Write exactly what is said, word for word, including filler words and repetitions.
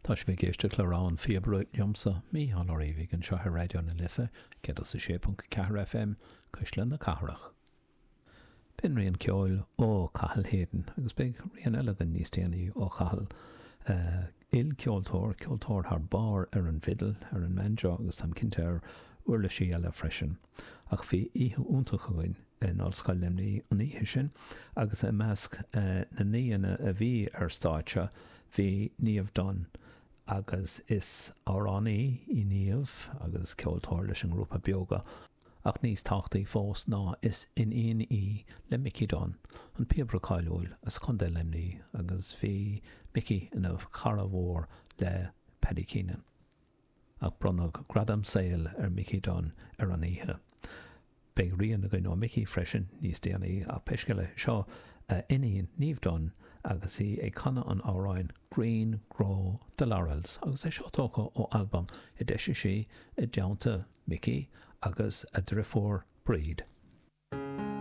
Tá sibh ag éisteacht le Rogha an Phíobaire liomsa, Mícheál Ó Riabhaigh, anseo ar Raidió na Life, céad is a sé ponc ceathair FM, Cuisle na Cathrach. B'in rian ceoil ó Cathal Hayden, agus beidh rian eile againn níos déanaí ó Chathal. Ilcheoltóir, ceoltóir thar barr ar an bhfidil, ar an mbanjo agus táim cinnte ar uirlisí eile freisin. Ach bhí oíche iontach againn in Ollscoil Luimnigh an oíche sin agus i measc na n-aíonna a bhí ar stáitse bhí Niamh Dunne agus is amhránaí í Niamh agus ceoltóir leis an ngrúpa Beoga ach níos tábhachtaí fós ná is iníon í le Mickey Dunne, an píobaire cáiliúil as Contae Luimnigh agus bhí Mickey ina chara mhór le Paddy Keenan. Ach bronnadh gradam saoil ar Mickey Dunne ar an oíche. Beidh rian againn ó Mickey freisin níos déanaí ach pé scéal é seo a iníon Niamh Dunne agus í ag canadh an amhráin Green Grow the Laurels agus é seo tógtha ó albam a d'eisigh sí i dteannta Mickey agus a deirfiúr Bríd.